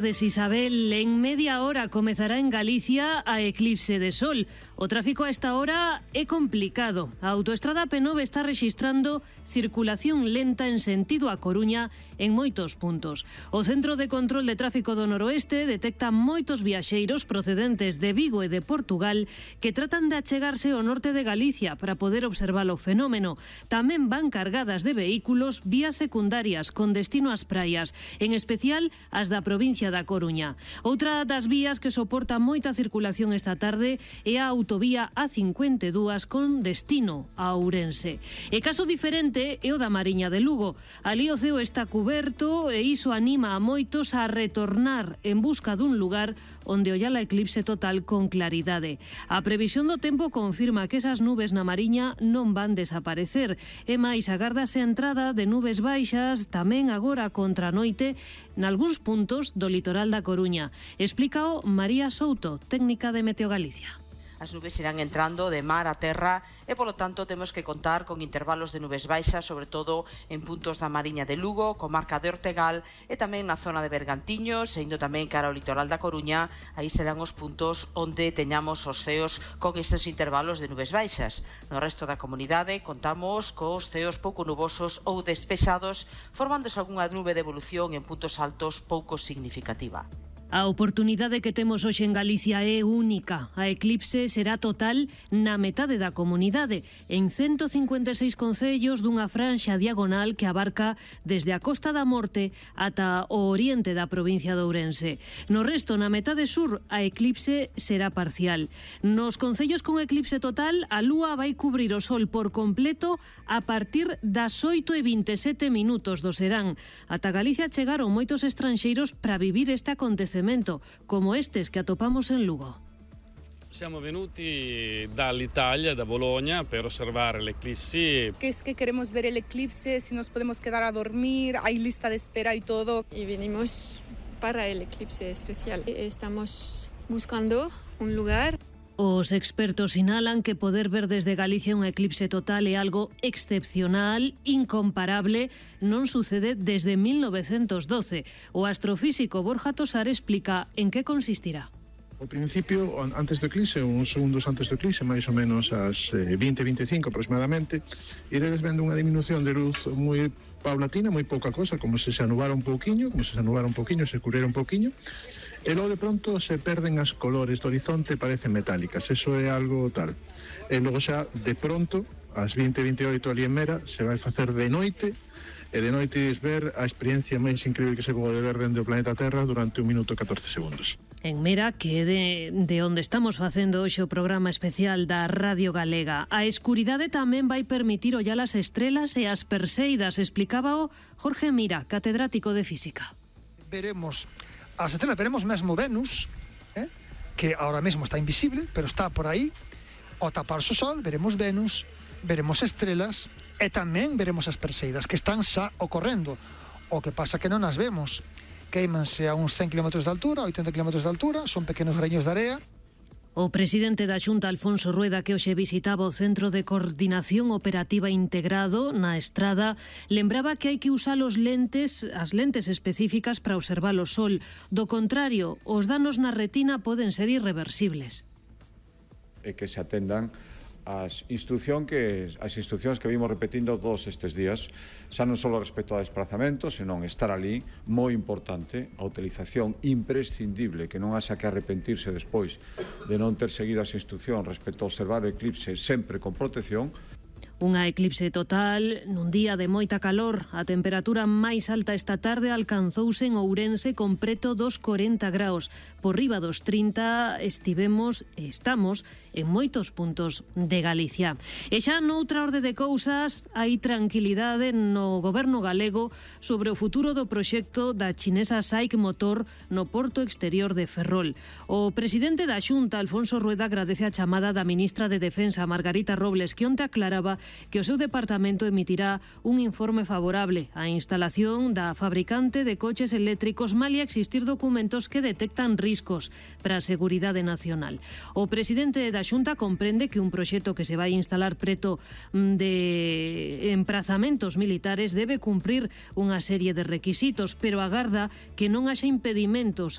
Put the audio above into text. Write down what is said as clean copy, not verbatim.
Isabel, en media hora comezará en Galicia a eclipse de sol. O tráfico a esta hora é complicado. A autoestrada P9 está rexistrando circulación lenta en sentido a Coruña en moitos puntos. O Centro de Control de Tráfico do Noroeste detecta moitos viaxeiros procedentes de Vigo e de Portugal que tratan de achegarse ao norte de Galicia para poder observar o fenómeno. Tamén van cargadas de vehículos vías secundarias con destino ás praias, en especial as da provincia da Coruña. Outra das vías que soporta moita circulación esta tarde é a autovía A52 con destino a Ourense. E caso diferente é o da Mariña de Lugo. Ali o ceo está cuberto e iso anima a moitos a retornar en busca dun lugar onde ollar a eclipse total con claridade. A previsión do tempo confirma que esas nubes na Mariña non van desaparecer. E máis, agárdase a entrada de nubes baixas tamén agora contra a noite nalgúns puntos do litoral da Coruña. Explícao María Souto, técnica de Meteo Galicia. As nubes irán entrando de mar a terra e, polo tanto, temos que contar con intervalos de nubes baixas, sobre todo en puntos da Mariña de Lugo, comarca de Ortegal e tamén na zona de Bergantiños, e indo tamén cara ao litoral da Coruña. Aí serán os puntos onde teñamos os ceos con eses intervalos de nubes baixas. No resto da comunidade contamos cos ceos pouco nubosos ou despexados, formándose algunha nube de evolución en puntos altos pouco significativa. A oportunidade que temos hoxe en Galicia é única. A eclipse será total na metade da comunidade, en 156 concellos dunha franxa diagonal que abarca desde a Costa da Morte ata o oriente da provincia de Ourense. No resto, na metade sur, a eclipse será parcial. Nos concellos con eclipse total, a lúa vai cubrir o sol por completo a partir das 8:27 do serán. Ata Galicia chegaron moitos estranxeiros para vivir este acontecemento, como estes que atopamos en Lugo. Siamo venuti dall'Italia, da Bologna, per osservare l'eclissi. Que es que queremos ver el eclipse, si nos podemos quedar a dormir, hay lista de espera y todo. Y venimos para el eclipse especial. Estamos buscando un lugar. Os expertos sinalan que poder ver desde Galicia un eclipse total é algo excepcional, incomparable, non sucede desde 1912. O astrofísico Borja Tosar explica en que consistirá. Ao principio, antes do eclipse, uns segundos antes do eclipse, máis ou menos ás 20:25 aproximadamente, iredes vendo unha disminución de luz moi paulatina, moi pouca cosa, como se anubara un pouquiño, se curera un pouquiño, e logo de pronto se perden as colores do horizonte, parecen metálicas, eso é algo tal. E logo xa de pronto, ás 20:28 ali en Mera, se vai facer de noite, e de noite ver a experiencia máis incrível que se pode ver dentro do planeta Terra durante 1 minuto e 14 segundos. En Mera, que é de onde estamos facendo hoxe o programa especial da Radio Galega. A escuridade tamén vai permitir ollar as estrelas e as perseidas, explicaba o Jorge Mira, catedrático de Física. Veremos as estrelas, veremos mesmo Venus, que ahora mesmo está invisible, pero está por aí. Ao taparse o sol, veremos Venus, veremos estrelas e tamén veremos as perseidas que están xa ocorrendo. O que pasa que non as vemos. Queimanse a uns 100 km de altura, 80 km de altura, son pequenos greños de area. O presidente da Xunta, Alfonso Rueda, que hoxe visitaba o Centro de Coordinación Operativa Integrado na Estrada, lembraba que hai que usar as lentes específicas para observar o sol. Do contrario, os danos na retina poden ser irreversibles. E que se atendan as instruccións que vimos repetindo todos estes días, xa non só respecto ao desplazamento, senón estar ali, moi importante, a utilización imprescindible, que non haxa que arrepentirse despois de non ter seguido as instruccións respecto a observar o eclipse sempre con protección. Unha eclipse total nun día de moita calor. A temperatura máis alta esta tarde alcanzouse en Ourense con preto dos 40 graus. Por riba dos 30 estamos en moitos puntos de Galicia. E xa noutra orde de cousas hai tranquilidade no goberno galego sobre o futuro do proxecto da chinesa SAIC Motor no porto exterior de Ferrol. O presidente da Xunta, Alfonso Rueda, agradece a chamada da ministra de Defensa, Margarita Robles, que onte aclaraba que o seu departamento emitirá un informe favorable á instalación da fabricante de coches eléctricos malia existir documentos que detectan riscos para a seguridade nacional. O presidente da Xunta comprende que un proxecto que se vai instalar preto de emprazamentos militares debe cumprir unha serie de requisitos, pero agarda que non haxa impedimentos